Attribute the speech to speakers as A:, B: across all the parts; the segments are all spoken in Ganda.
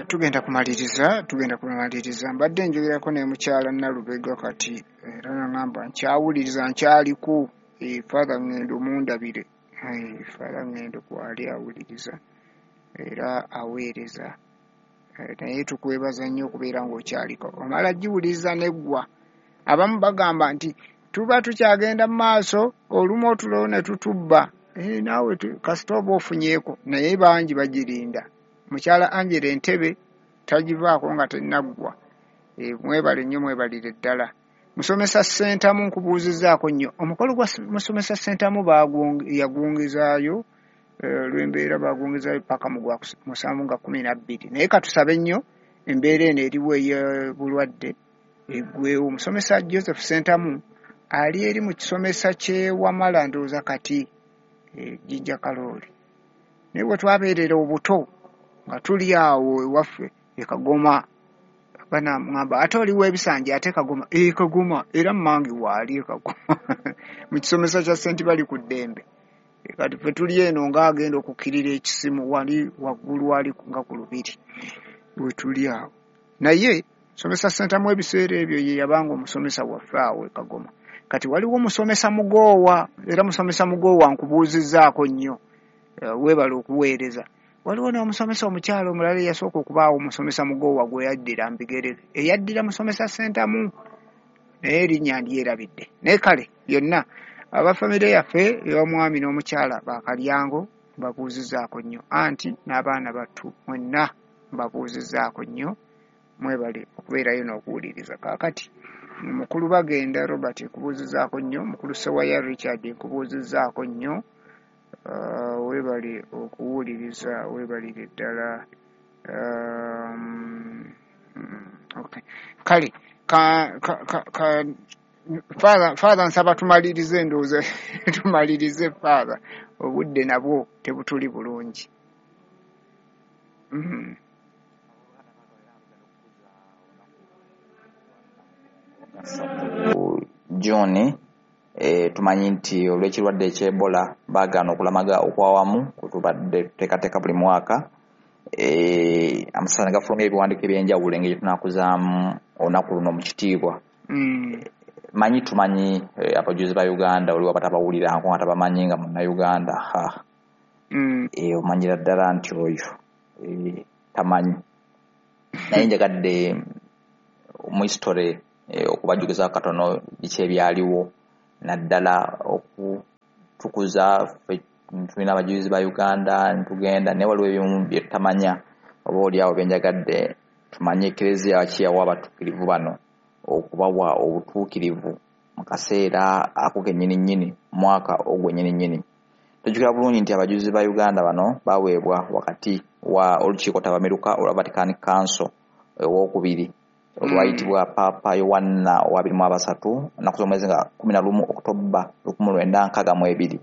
A: Tugenda kumaliriza, tugenda kumaliriza. Mbadde njogerako ne mukyala Nalubega kati era nangamba nkyawuliriza nkyaliku. Father Ngendo mundabire. Father Ngendo kwali awuliriza era aweereza. Naye tukwebaza nnyo okubeera ng'okyaliko. Omala giwuliriza neggwa. Abamu bagamba nti tuba tukyagenda mu maaso olumu otulo ne tutubba. Naawe kasita oba ofunyeeko, naye bangi bagirinda. Mukyala Angela Entebe tagivaako nga tennaggwa. Mwebale nnyo, mwebalire ddala. Musomesa Ssentamu nkubuuzizzaako nnyo. Omukolo gwa Musomesa Ssentamu yagwongezaayo olw'embeera bagwongezaayo paka mu gwa 7 nga 12. Naye katusabe nnyo embeera eno eriwo ey'obulwadde eggweewo. Musomesa Joseph Ssentamu ali eri mu kisomesa ky'e Wamala ndowooza kati Jinja Kalooli. Naye bwe twabeerera obuto nga tuli awo ewaffe e Kagoma, banamugamba ate oli w'ebisanja ate Kagoma, Kagoma era mmange waali e Kagoma mu kisomesa kya Ssenti bali ku ddembe. Kati ffe tuli eno ng'agenda okukkirira ekisimu wali waggulu wali nga ku lubiri we tuli awo. Naye musomesa Ssentamu ebiseera ebyo ye yabanga omusomesa waffe awo e Kagoma. Kati waliwo musomesa Mugoowa, era musomesa Mugoowa nkubuuzizzaako nnyo, weebale okuweereza. Waliwo n'omusomesa omukyala omulala eyasooka okubaawo omusomesa Mugoowa gwe yaddira mu bigere, eyaddira musomesa Ssentamu, naye erinnya ndyerabidde. Naye kale byonna abafamire yaffe ey'omwami n'omukyala Bakalyango mbabuuzizzaako nnyo, anti n'abaana battu mwenna mbabuuzizzaako nnyo, mwebale okubeerayo n'okuwuliriza. Kaakati mukulu Bagenda Robert nkubuuzizzaako nnyo, mukulu Ssewaya Richard nkubuuzizzaako nnyo, weebale okuwuliriza, weebalire ddala. Okay. Kale Father nsaba tumalirize ndowooza tumalirize Father, obudde nabwo tebutuli bulungi.
B: June tumanyi nti olw'ekirwadde eky'Ebola baagaana okulamaga okwawamu kwe tubadde tuteekateeka buli mwaka. Amasasa ne gafulumya ebiwandiiko eby'enjawulo engeri gye tunaakuzaamu olunaku luno mu kitiibwa. Manyi tumanyi abajulizi ba Uganda oliwo abatabawulirako nga tabamanyi nga munnayuganda. Omanyira ddala nti oyo tamanyi. Naye njagadde mu history okubajjukiza katono biki ebyaliwo, naddala okutukuza ffe tulina abajulizi ba Uganda ntugenda, naye waliwo ebimu bye tutamanya oba oli awo bye njagadde tumanye. Ekereziya ki yawa abatuukirivu bano okubawa obutuukirivu mu kaseera ako kennyini nnyini, mwaka ogwo nnyini nnyini. Tujjukira bulungi nti abajulizi ba Uganda bano baweebwa wakati wa olukiiko ttabamiruka olwa Vatican Council owokubiri olwayitibwa Paapa Yowanna owa 23 ennaku z'omwezi nga 11 Oktoba 1962.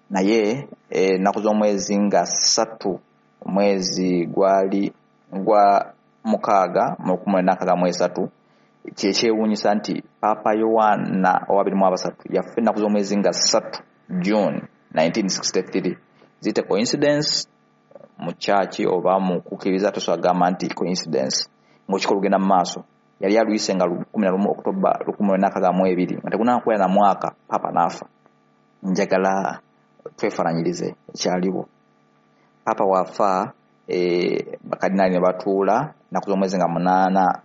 B: Naye ennaku z'omwezi nga 3 omwezi gwali gwa 6 mu 1963, kyekyewuunyisa nti Paapa Yowanna owa 23 yafa ennaku z'omwezi nga 3 June 1963. Ziyite coincidence mu church oba mu kukkiriza, tosobola kugamba nti coincidence ng'olukiiko lugenda mu maaso. Yali aluyise nga 11 Oktoba 1962 nga tegunakwera na mwaka Paapa n'afa. Njagala twefaananyirize ekyaliwo. Paapa bw'afa, bakadinaali ne batuula ennaku z'omwezi nga 8,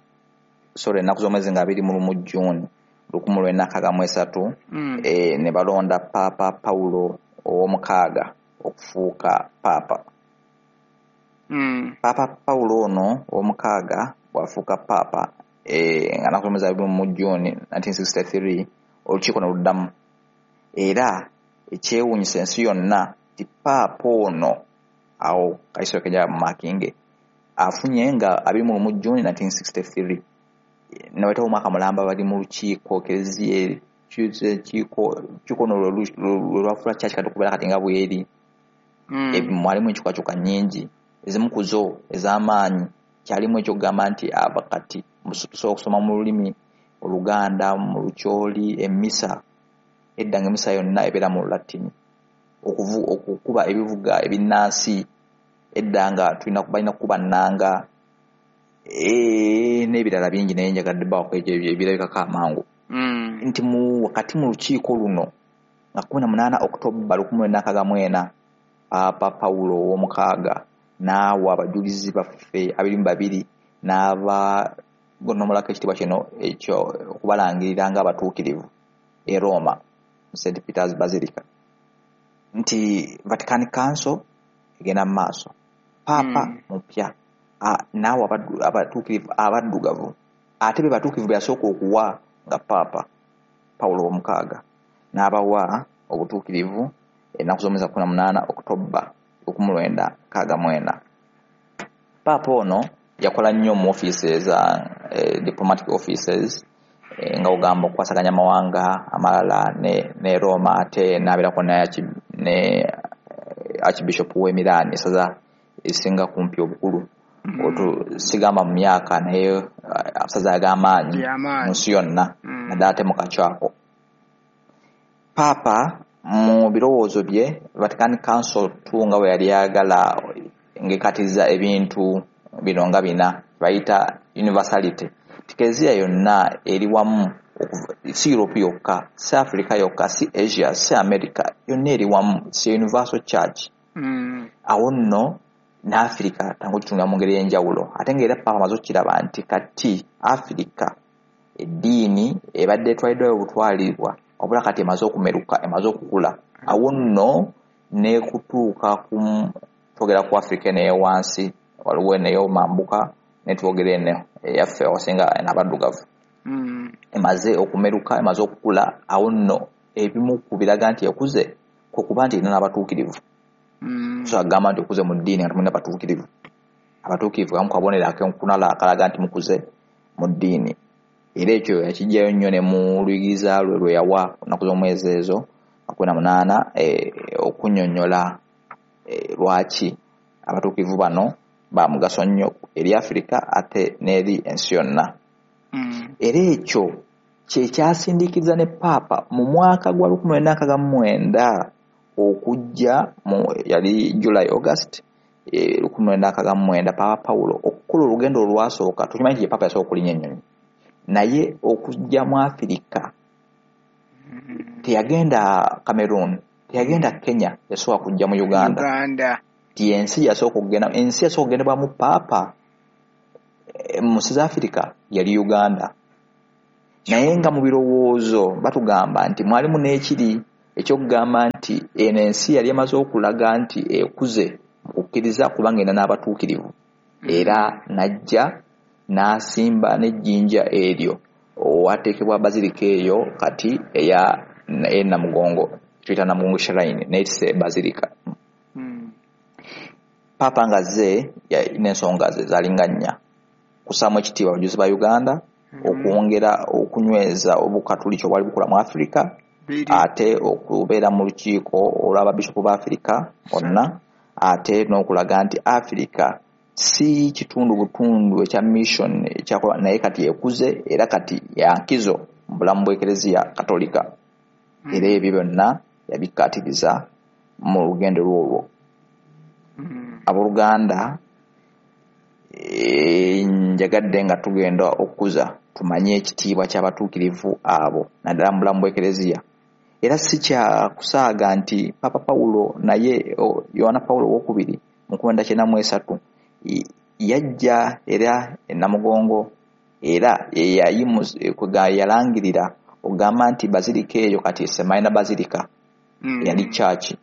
B: sorry, ennaku z'omwezi nga 21 June 1963, ne balonda Paapa Paulo ow'omukaaga okufuuka Paapa. Paapa Paulo ono ow'omukaaga bw'afuuka Paapa, nga nnaku z'omwezi 21 June 1963, olukiiko ne luddamu. Era ekyewuunyisa ensi yonna nti Paapa ono awo Kaisero Kejja mu Makinge afunye nga 21 June 1963, ne bayitawo omwaka mulamba bali mu lukiiko Ekereziya olukiiko luno lwe lwafuula church kati okubeera kati nga bw'eri. Mwalimu enkyukakyuka nnyingi, ezimu ku zo ez'amaanyi kyalimu ekyokugamba nti aba kati tusobola okusoma mu lulimi Oluganda, mu Lukyoli, emmisa edda nga emmisa yonna ebeera mu Lulatini, okukuba ebivuga ebinnansi edda nga balina kukuba nnanga. N'ebirala bingi, naye njagadde bawako ebirabikako amangu. Nti wakati mu lukiiko luno nga 18 Okutoba 1964, Paapa Pawulo ow'omukaaga n'awa abajulizi baffe 22 n'abagonomolako ekitiibwa kino ekyo okubalangirira ng'abatuukirivu e Roma mu St Peters Basilica, nti Vatican Council egenda mu maaso, Paapa mupya, n'awa abatuukirivu abaddugavu, ate be batuukirivu be yasooka okuwa nga Paapa Pawulo ow'omukaaga, n'abawa obutuukirivu ennaku z'omwezi 18 Okutoba 1964. Paapa ono yakola nnyo mu offices, diplomatic offices, nga ogamba okukwasaganya amawanga amalala ne Roma, ate n'abeerako ne Archbishop w'e Milan, essaza esinga kumpi obukulu, sigamba mu myaka, naye amasaza ag'amaanyi mu nsi yonna, naddala ate mu kakyako. Paapa mu birowoozo bye, Vatican Council II nga bwe yali ayagala ng'ekatiriza ebintu bino nga bina bayita universality, Ekereziya yonna eri wamu, si Europe yokka, si Africa yokka, si Asia, si America, yonna eri wamu, si universal church. Awo nno ne Africa tangu kitunula mu ngeri ey'enjawulo, ate ng'era Paapa amaze okukiraba nti kati Africa eddiini ebadde etwaliddwayo obutwalibwa, wabula kati emaze okumeruka, emaze okukula. Awo nno n'ekutuuka ku twogera ku Africa eno eyowansi, waliwo eno ey'omambuka, ne twogera eno eyaffe awasinga n'abaddugavu, emaze okumeruka, emaze okukula. Awo nno ebimu ku biraga nti ekuze kwe kuba nti erina n'abatuukirivu. So agamba nti okuze mu ddiini nga temulina batuukirivu. Abatuukirivu kamu kabonero akenkunala akalaga nti mukuze mu ddiini. Era ekyo yakijjayo nnyo ne mu luyigiriza lwe lwe yawa ennaku z'omwezi ezo 18, okunnyonnyola lwaki abatuukirivu bano ba mugaso nnyo eri Africa ate n'eri ensi yonna. Era ekyo kye kyasindiikiriza ne Paapa mu mwaka gwa 1969 okujja mu yali July August 1969, Paapa Pawulo okukola olugendo olwasooka. Tukimanyi nti ye Paapa yasooka okulinnya ennyonyi, naye okujja mu Afirika teyagenda Cameroon, teyagenda Kenya, yasooka kujja mu Uganda. Ti ensi yasooka okugenda, ensi yasooka okugendebwamu Paapa mu nsi za Afirika yali Uganda. Naye nga mu birowoozo batugamba nti mwalimu n'ekiri ekyokugamba nti eno ensi yali emaze okulaga nti ekuze mu kukkiriza kubanga erina n'abatuukirivu. Era n'ajja n'asimba n'ejjinja eryo owateekebwa basilica eyo kati eya Namugongo, tuyita Namugongo Shrine, naye tise basilica. Paapa ng'azze n'ensonga ze zaalinga nnya: kussaamu ekitiibwa abajulizi ba Uganda, okwongera okunyweza obukatuliki obwali bukula mu Africa, ate okubeera mu lukiiko olw'ababishopu ba Africa bonna, ate n'okulaga nti Africa si kitundu butundu ekya mission ekyakola, naye kati ekuze era kati yankizo mu bulamu bw'Ekereziya Katolika. Era ebyo byonna yabikkaatiriza mu lugendo lwolwo. Abooluganda, njagadde nga tugenda okukuza tumanye ekitiibwa ky'abatuukirivu abo naddala mu bulamu bw'Ekereziya. Era si kya kusaaga nti Paapa Pawulo naye Yowaana Pawulo owokubiri mu 1993 yajja era e Namugongo, era yalangirira okugamba nti basilica eyo kati Semaina Basilica, yali church,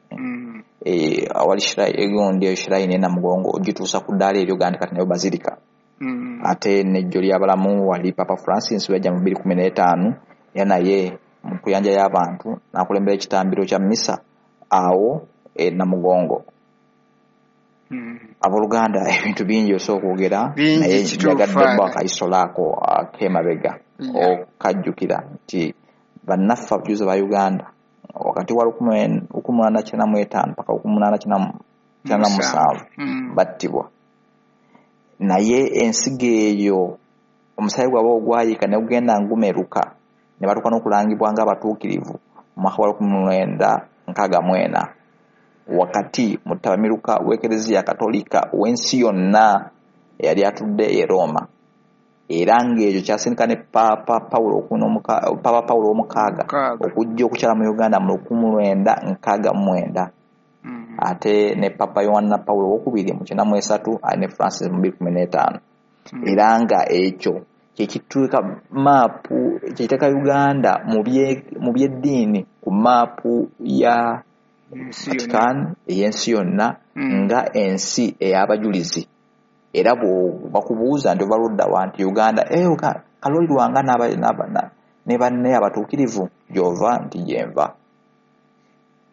B: awali egundi eyo shrine e Namugongo, ogituusa ku ddaala eryo gandi kati nayo basilica. Ate n'ejjo ly'abalamu wali Papa Francis wajja mu 2015, era naye mu kuyanja y'abantu n'akulembera ekitambiro kya misa awo e Namugongo. Abooluganda, ebintu bingi osobola okwogera, naye njagadde bbo akayisolaako ak'emabega okajjukira nti bannaffe abajulizi ba Uganda wakati wa 1895 paka 1897 battibwa, naye ensigo eyo omusaayi gwabwe ogwayiika ne gugenda ngumeruka ne batuuka n'okulangibwa ng'abatuukirivu mu mwaka gwa 1964 wakati mu ttabamiruka w'Ekereziya Katolika w'ensi yonna eyali atudde e Roma. Era ng'ekyo kyasindika ne Paapa Pawulo ow'omukaaga okujja okukyala mu Uganda mu 1969. Ate ne Papa Yowanna Pawulo owokubiri mu 1993, ate ne Francis mu 2015. Era nga ekyo kyekituuka maapu, kyekiteeka Uganda mu by'eddiini ku maapu ya Vatican ey'ensi yonna nga ensi ey'abajulizi. Era bakubuuza nti ova ludda wa, nti Uganda, Kalooli Lwanga ne banne abatuukirivu gy'ova, nti gyenva.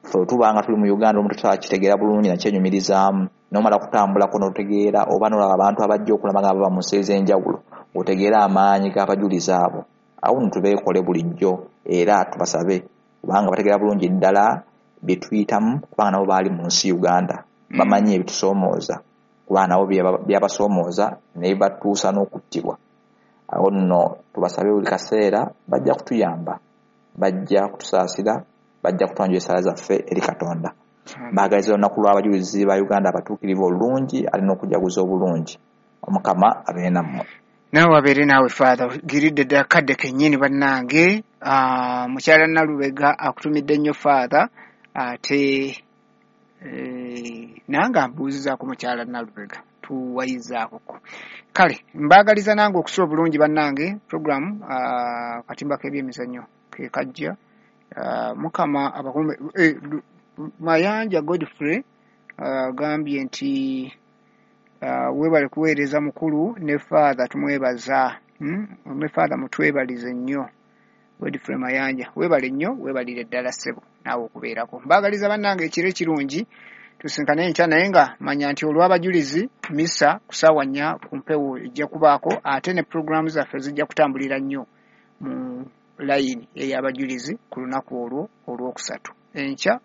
B: Ffe tubanga tuli mu Uganda omuntu tutakitegeera bulungi nakyenyumirizaamu, n'omala kutambulako n'otegeera oba n'olaba abantu abajja okulaba nga bava mu nsi ez'enjawulo, otegeera amaanyi g'abajulizi abo. Awo nno tubeekole bulijjo era tubasabe, kubanga bategeera bulungi ddala bye tuyitamu, kubanga nabo baali mu nsi Uganda, bamanyi ebitusoomooza, kubanga nabo byabasoomooza ne bibatuusa n'okuttibwa. Awo nno tubasabe buli kaseera, bajja kutuyamba, bajja kutusaasira, bajja kutwanjula essaala zaffe eri Katonda. Mbaagaliza olunaku lw'abajulizi ba Uganda abatuukirivu olulungi, alina okujaguza obulungi. Omukama abeere nammwe.
A: Naawe abeere naawe Father. Giridde ddala kadde kennyini bannange. Mukyala Nalubega akutumidde nnyo Father, ate nange ambuuzizaako mukyala Nalubega, tuwayizaakoko. Kale mbaagaliza nange okusula obulungi bannange. Program katimba k'ebyemizannyo ke kajja. Mukama abakuume. Mayanja Godfrey agambye nti weebale kuweereza mukulu ne Father tumwebaza. Ne Father mutwebalize nnyo. Godfrey Mayanja weebale nnyo, weebalire ddala ssebo naawe okubeerako. Mbaagaliza bannange ekiro ekirungi, tusinkane enkya, naye nga manya nti olw'abajulizi misa ku ssaawa 4 ku mpewo ejja kubaako, ate ne pulogulaamu zaffe zijja kutambulira nnyo mu layini ey'abajulizi ku lunaku olwo olwokusatu. Enkya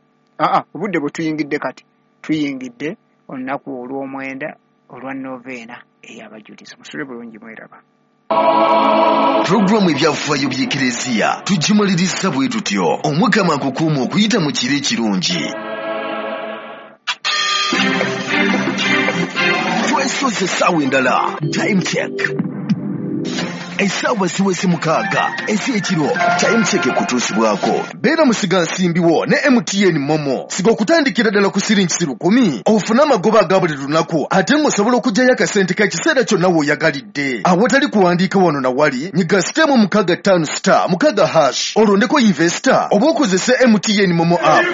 A: obudde bwe tuyingidde kati, tuyingidde olunaku olw'omwenda olwa noveena ey'abajulizi. Musule bulungi, mweraba.
C: Pulogulaamu ebyafaayo by'Ekereziya tugimaliriza bwe tutyo. Omukama akukuuma okuyita mu kiro ekirungi. Twesoze essaawa endala. Time check. Essaawa ziweze 6 ez'ekiro. Time check ekutuusibwako. Beera musigansimbiwo ne MTN Momo. Siga okutandikira ddala ku siringi 1,000 ofune amagoba aga buli lunaku, ate ng'osobola okuggyayo akasente k'ekiseera kyonna w'oyagalidde. Awatali kuwandiika wano na wali, nyiga *656*6# olondeko investor oba okozese MTN Momo app.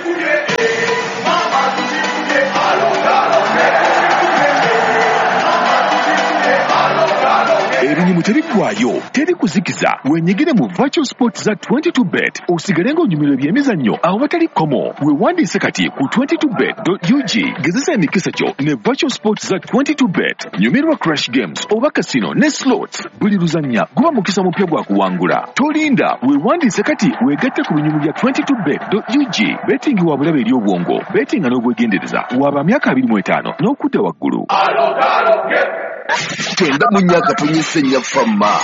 D: Ebinyumu tebiggwayo, teri kuzikiza. Wenyigire mu virtual sports za 22bet osigale ng'onyumirwa ebyemizannyo awatali kkomo. Weewandiise kati ku 22bet.ug. Gezesa emikisa gyo ne virtual sports za 22bet. Nyumirwa crash games oba casino ne slots. Buli luzannya guba mukisa mupya gwa kuwangula. Tolinda, weewandiise kati weegatte ku binyumu bya 22bet.ug. Betting wa bulabe eri obwongo, bettinga n'obwegendereza. Waba myaka 25 n'okudda waggulu.
C: 94.4 Fama.